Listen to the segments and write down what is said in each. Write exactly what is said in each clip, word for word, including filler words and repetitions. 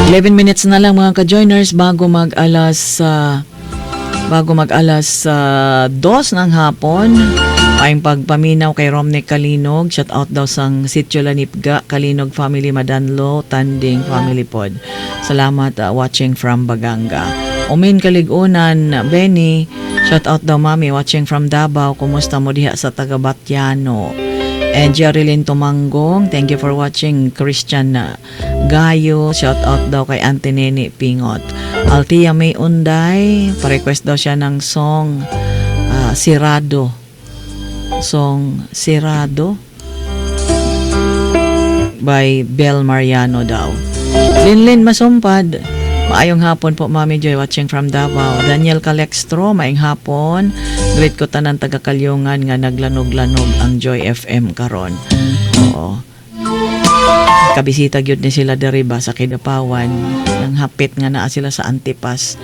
eleven minutes na lang, mga ka-joiners, bago mag alas ah, bago mag alas ah, dos ng hapon. Ay pagpaminaw kay Romney Kalinog, shout out daw sang Sitio Lanipga, Kalinog family, Madanlo, Tanding family pod. Salamat, ah, watching from Baganga. Umin Kaligunan, Benny, shout out daw, mami, watching from Davao. Kumusta mo diha sa taga Batiano? And Jerilyn Tumanggong, thank you for watching. Christian uh, Gayo, shout out daw kay Auntie Nene Pingot. Altia May Unday, pa-request daw siya ng song uh, Sirado. Song Sirado by Bel Mariano daw. Linlin Masumpad, maayong hapon po, Mami Joy, watching from Davao. Daniel Calextro, maayong hapon. Greet ko tanan taga Kalyungan nga naglanog-lanog ang Joy F M karon. Oo. Kabisita gyud ni sila diri ba sa Kidapawan. Nang hapit nga naa sila sa Antipas.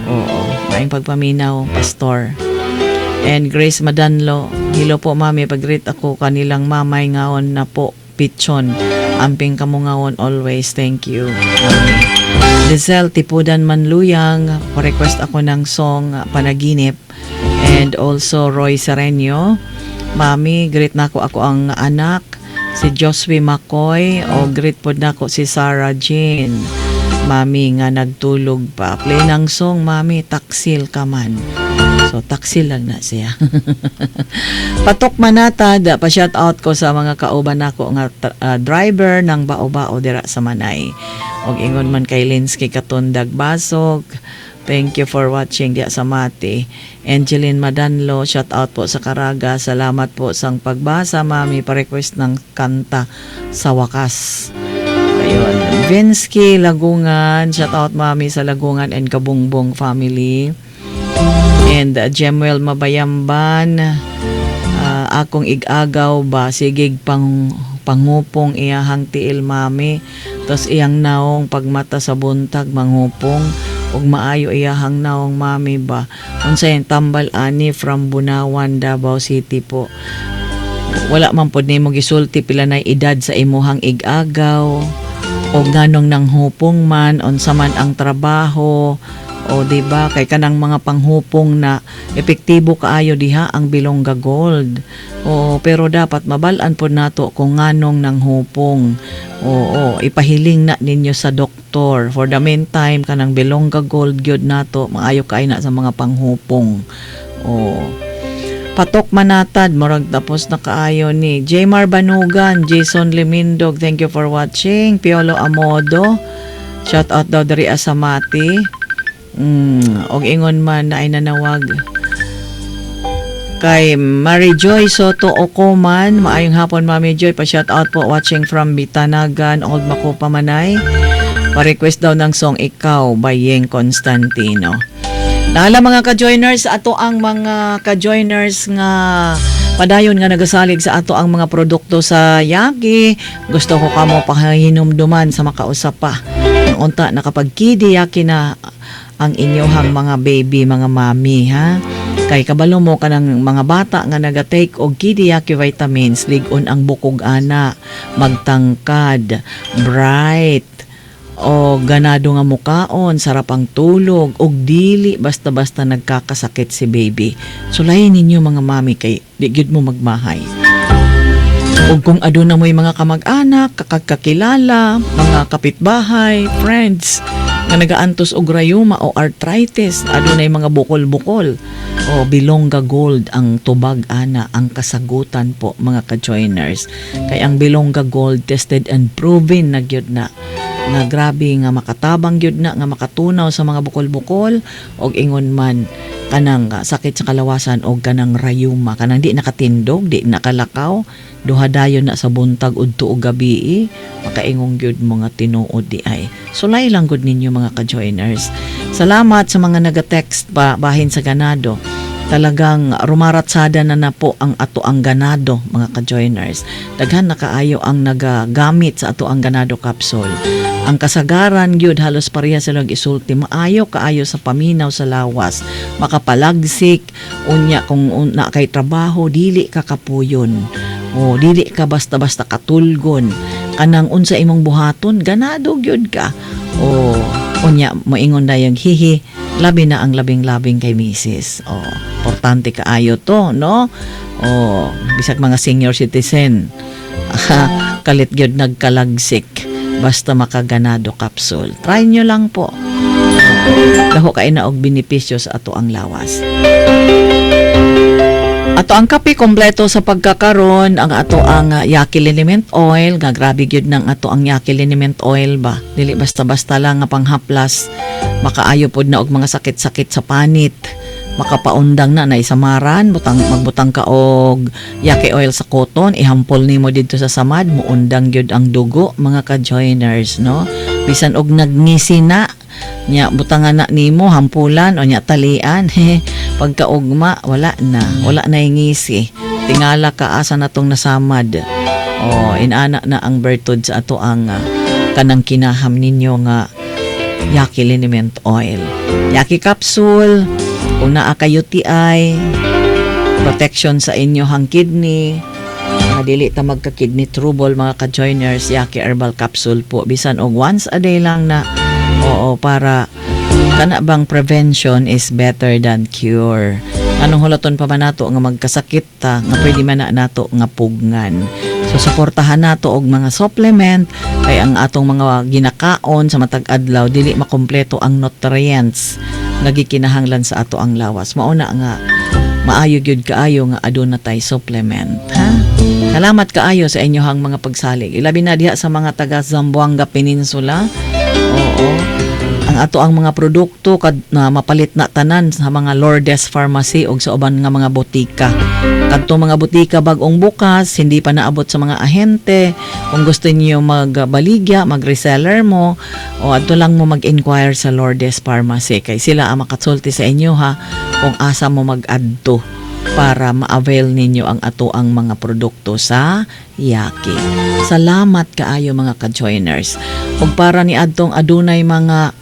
Oo. Maayong pagpaminaw, Pastor. And Grace Madanlo, hello po, mami, pag-greet ako kanilang mamay ngaon na po pitchon. Amping kamungawon always. Thank you, mami. Lizelle Tipudan Manluyang, pa-request ako ng song uh, Panaginip. And also Roy Serenio. Mami, greet nako ako ang anak, si Josue Macoy, o greet pod nako si Sarah Jean. Mami nga nagtulog pa. Play ng song, mami, Taksil Ka Man. So, taksil lang na siya. Patok Manatad, pa shout out ko sa mga kauban nako nga uh, driver ng bao-bao dira sa Manay. Og ingon man kay Linsky Katundag Basog. Thank you for watching diya sa Mati. Angeline Madanlo, shout out po sa Caraga. Salamat po sang pagbasa, mami. Pa-request ng kanta Sa Wakas. Ayun. Vinsky Lagungan, shout out, mami, sa Lagungan and Kabungbong family. And uh, Jemuel Mabayamban, uh, akong igagaw ba, sigig pang pangupong iyahang tiil, mami. Tapos iyang naong pagmata sa buntag manghupong ug maayo iyahang naong, mami ba. Unsay tambal ani from Bunawan, Davao City po. Wala man pod nimo gisulti pila na edad sa imuhang igagaw o ganong nanghupong man, unsa man ang trabaho o, di ba, kay kanang mga panghupong na epektibo kaayo diha ang Bilongga Gold. O pero dapat mabal-an pod nato kung nganong nanghupong. Oo, ipahiling na ninyo sa doktor. For the meantime, kanang Bilongga Gold gyud nato, maayo kay na sa mga panghupong. O Patok Manatad, murag tapos na kaayo ni. Jmar Banugan, Jason Limindog, thank you for watching. Piolo Amodo, shout out daw diri sa Mati. Mm, og ingon man na ay nanawag kay Mary Joy Soto Okoman, maayong hapon, Mami Joy, pa shout out po, watching from Bitanagan, Old Makupa, Manay. Pa-request daw ng song Ikaw by Yeng Constantino. Nahala, mga ka-joiners, ato ang mga ka-joiners nga padayon nga nagasalig sa ato ang mga produkto sa Yaki. Gusto ko kamo pahinumduman sa makausap pa. Ang unta nakapagkidi Yaki na ang inyohang mga baby, mga mami, ha? Kay kabalo mo kanang mga bata nga naga-take og Kidiyaki vitamins, lig-on ang bukog ana, magtangkad, bright, o ganado nga mukaon, sarap ang tulog, og dili basta-basta nagkakasakit si baby. Sulayin ninyo, mga mami, kay di gyud mo magmahay. Ug kung aduna mo'y mga kamag-anak, kakakilala, mga kapitbahay, friends, nga nagaantos og rayuma o arthritis, adunay mga bukol-bukol, o Bilongga Gold ang tubag ana, ang kasagutan po, mga ka-joiners. Kay ang Bilongga Gold, tested and proven na gyud na nga grabe nga makatabang gyud na nga makatunaw sa mga bukol-bukol og ingon man kanang ah, sakit sa kalawasan og kanang rayuma, kanang di nakatindog, di nakalakaw, duha dayon na sa buntag udto og gabi, makaingong gyud mga tinuod di ay. Sulay lang gud ninyo, mga ka-joiners. Salamat sa mga naga-text pa bahin sa ganado. Talagang rumaratsada na na po ang ato ang ganado, mga ka-joiners. Daghan na kaayo ang nagagamit sa ato ang ganado capsule. Ang kasagaran gyud, halos pareha sila isulti, maayo kaayo sa paminaw sa lawas, makapalagsik unya kung na kay trabaho, dili ka kapuyon o dili ka basta-basta katulgon. Kanang unsa imong buhaton, ganado gyud ka. O unya moingon dayong hihi, labi na ang labing-labing kay misis. O importante kaayo to, no? O bisag mga senior citizen, kalit gyud nagkalagsik basta makaganado capsule. Try nyo lang po. Dako kay na og benepisyo sa ato ang lawas. Ato ang kape kompleto sa pagkakaron, ang ato ang uh, Yaki Liniment Oil, nga grabe gyud nang ato ang Yaki Liniment Oil ba. Dili basta-basta lang nga panghaplas, makaayo pod na og mga sakit-sakit sa panit. Makapaundang na na isamaran, butang magbutang ka og Yaki Oil sa cotton, ihampol nimo didto sa samad, muundang gyud ang dugo, mga ka-joiners, no? Bisan og nagngisi na nya, butangan na nimo, hampulan o nya talian, pagkaugma wala na, wala na yung ngisi. Tingala ka asa na tong nasamad. O inana na ang bertud sa ato ang uh, kanang kinaham ninyo nga Yaki Liniment Oil. Yaki capsule, kung naa ka U T I, protection sa inyohang kidney, nga dili ta magka-kidney trouble, mga ka-joiners, Yaki Herbal Capsule po. Bisan og once a day lang na, oo, para kana bang prevention is better than cure. Anong hulaton pa man nato nga magkasakit ta nga pwede man na nato nga pugnan? So suportahan nato og mga supplement kay ang atong mga ginakaon sa matag adlaw, dili makumpleto ang nutrients nga gikinahanglan sa ato ang lawas. Mao na nga maayo gyud kaayo nga aduna tay supplement, ha? Salamat kaayo sa inyohang mga pagsalig. Ilabi na diha sa mga taga Zamboanga Peninsula. Oo. Ang ato ang mga produkto kad na mapalit na tanan sa mga Lourdes Pharmacy og sa uban nga mga botika. Kadto mga botika bag-ong bukas, hindi pa naabot sa mga ahente. Kung gusto niyo magbaligya, mag-reseller mo, o adto lang mo mag-inquire sa Lourdes Pharmacy kay sila ang makasulti sa inyo ha kung asa mo mag-adto para ma-avail ninyo ang ato ang mga produkto sa Yaki. Salamat kaayo, mga ka-joiners. Ug para ni adtong adunay mga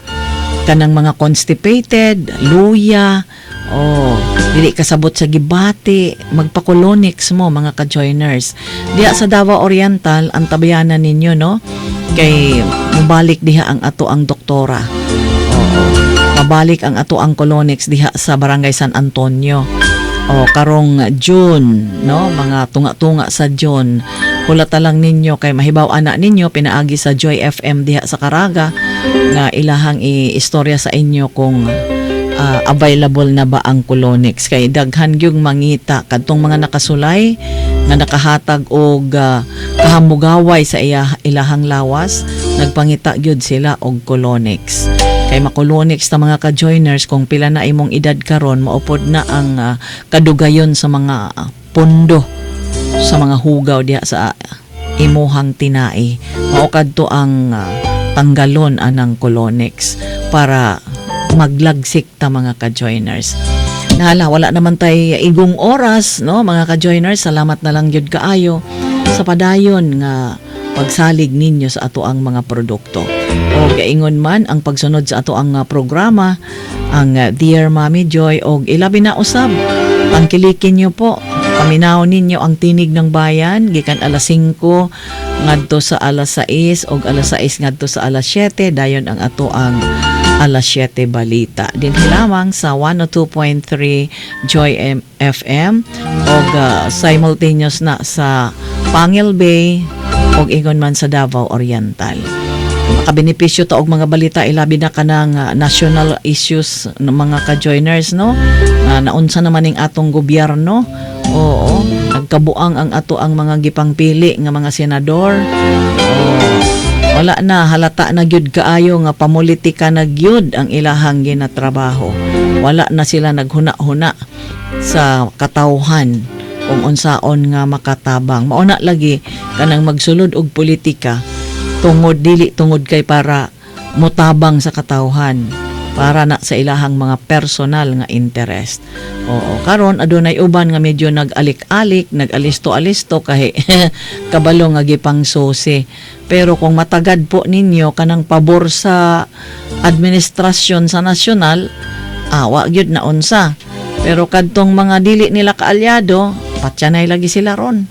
kanang mga constipated, luya, oh, dili kasabot sa gibati, magpa-colonics mo, mga ka-joiners. Diha sa Davao Oriental, ang tabayanan ninyo, no? Kay mubalik diha ang ato ang doktora. Oo. Mabalik ang ato ang colonics diha sa Barangay San Antonio. O karong June, no? Mga tunga-tunga sa June. Hulata lang ninyo kay mahibaw ana ninyo pinaagi sa Joy F M diha sa Caraga nga ilahang i-istorya sa inyo kung ah, available na ba ang colonics kay daghan gyud mangita kadtong mga nakasulay nga nakahatag og ah, kahamugaway sa iya, ilahang lawas, nagpangita gyud sila og colonics. Kay makolonics ta, mga ka-joiners, kung pila na imong edad karon, maupod na ang ah, kadugayon sa mga ah, pundo sa mga hugaw diha sa imuhang tinai. Mao kadto ang ah, tanggalon anang colonics para maglagsik ta, mga ka-joiners. Nahala, wala naman tay igong oras, no, mga ka-joiners. Salamat na lang gyud kaayo sa padayon nga pagsalig ninyo sa ato ang mga produkto. O gaingon man ang pagsunod sa ato ang uh, programa, ang uh, Dear Mommy Joy, og ilabi na usab tangkilikin niyo po. Paminaw ninyo ang Tinig ng Bayan gikan alas singko ngadto sa alas sais og alas sais ngadto sa alas siyete, dayon ang ato ang alas siyete balita. Dinhi lamang sa one oh two point three Joy M- F M og uh, simultaneous na sa Pangil Bay og ingon man sa Davao Oriental. Makabenepisyo ta og mga balita, ilabi na kanang uh, national issues ng mga ka-joiners, no? Uh, naunsa naman ning atong gobyerno. Oo, nagkabuang ang ato ang mga gipangpili nga mga senador. Oo, wala na, halata na gyud kaayo nga pamulitika na gyud ang ilahang ginatrabaho. Wala na sila naghuna-huna sa katawhan kung unsaon nga makatabang. Mao na lagi kanang magsulod og politika tungod dili tungod kay para motabang sa katawhan, para na sa ilahang mga personal nga interest. Oo, karon adunay uban nga medyo nag-alik-alik, nag-alisto-alisto kay kabalo nga gipangsusi. Pero kung matagad po ninyo kanang pabor sa administrasyon sa nasyonal, awa gyud na unsa. Pero kadtong mga dili nila kaalyado, patyanay lagi sila ron.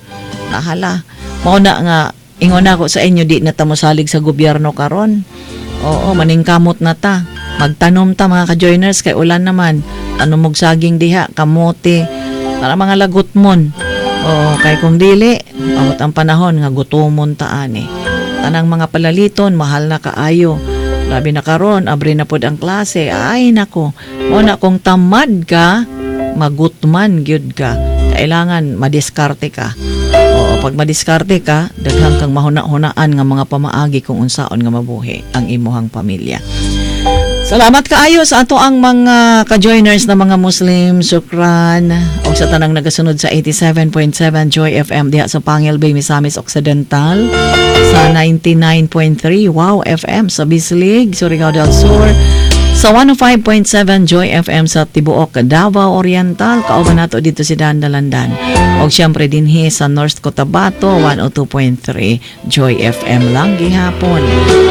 Nahala. Mao na nga Ingon ako sa inyo, di na ta mosalig sa gobyerno karon. Oo, maningkamot na ta. Magtanom ta, mga ka-joiners, kay ulan naman. Tanom og saging diha, kamote, para mga lagot mon. Oo, kay kung dili, abot ang panahon nga gutomon ta ani. Tanang mga palaliton, mahal na kaayo. Labi na karon, abre na pod ang klase. Ay nako, mo na kung tamad ka, magutman gyud ka. Kailangan madiskarte ka. Oo, pag madiskarte ka, daghang kang mahuna-hunaan nga mga pamaagi kung unsaon nga mabuhi ang imuhang pamilya. Salamat kaayo sa ato ang mga ka-joiners na mga Muslim. Shukran. O sa tanang nagasunod sa eighty-seven point seven Joy F M diha sa Pangil Bay, Misamis Occidental. Sa ninety-nine point three Wow F M sa Bislig, Surigao del Sur. Sa one oh five point seven Joy F M sa Tibuok, Davao Oriental, kauban nato dito si Dan Dalandan. Og siyempre dinhi sa North Cotabato, one oh two point three Joy F M lang gihapon.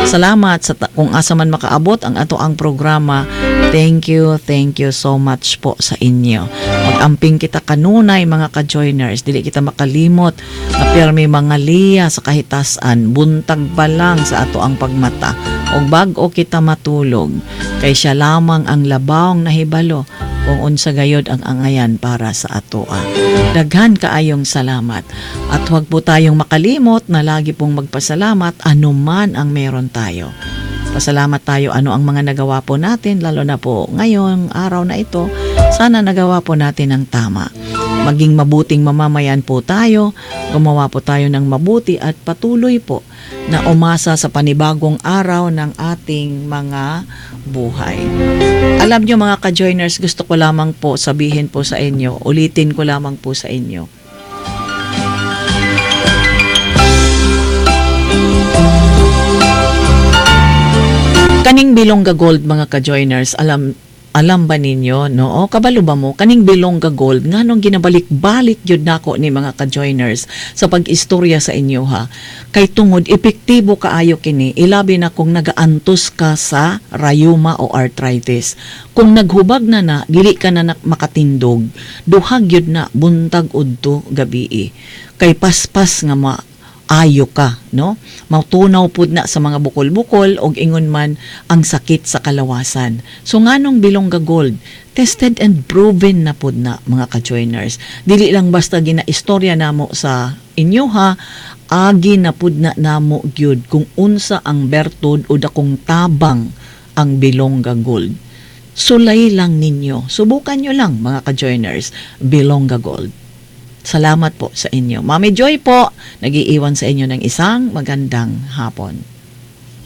Salamat sa ta- kung asa man makaabot ang ato ang programa. Thank you, thank you so much po sa inyo. Mag-amping kita kanunay, mga ka-joiners. Dili kita makalimot na pirmi mga liya sa kahitasan, buntag pa lang sa ato ang pagmata. Og bag-o kita matulog, kay siya lamang ang labawng nahibalo kung unsa gayod ang angayan para sa atoa. Daghan kaayong salamat. At huwag po tayong makalimot na lagi pong magpasalamat anuman ang meron tayo. Pasalamat tayo ano ang mga nagawa po natin, lalo na po ngayong araw na ito. Sana nagawa po natin ang tama. Maging mabuting mamamayan po tayo, gumawa po tayo ng mabuti at patuloy po na umasa sa panibagong araw ng ating mga buhay. Alam nyo, mga ka-joiners, gusto ko lamang po sabihin po sa inyo, ulitin ko lamang po sa inyo. Kaning Bilongga Gold, mga ka-joiners, alam alam ba ninyo, no? O kabalo ba mo kaning Bilongga Gold, nganong ginabalik-balik gyud nako ni, mga ka-joiners, sa pag-istorya sa inyo ha? Kay tungod epektibo kaayo kini, ilabi na kung nagaantos ka sa rayuma o arthritis. Kung naghubag na na, dili ka na, na makatindog, duha gyud na buntag udto gabii. Kay paspas nga ma ayo ka, no? Mautunaw pud na sa mga bukol-bukol og ingon man ang sakit sa kalawasan. So nganong Bilongga Gold? Tested and proven na pud na, mga ka-joiners. Dili lang basta ginaistorya namo sa inyo ha, agi na pud na namo gyud kung unsa ang bertud o dakong tabang ang Bilongga Gold. Sulay lang ninyo. Subukan nyo lang, mga ka-joiners, Bilongga Gold. Salamat po sa inyo. Mami Joy po, nagiiwan sa inyo ng isang magandang hapon.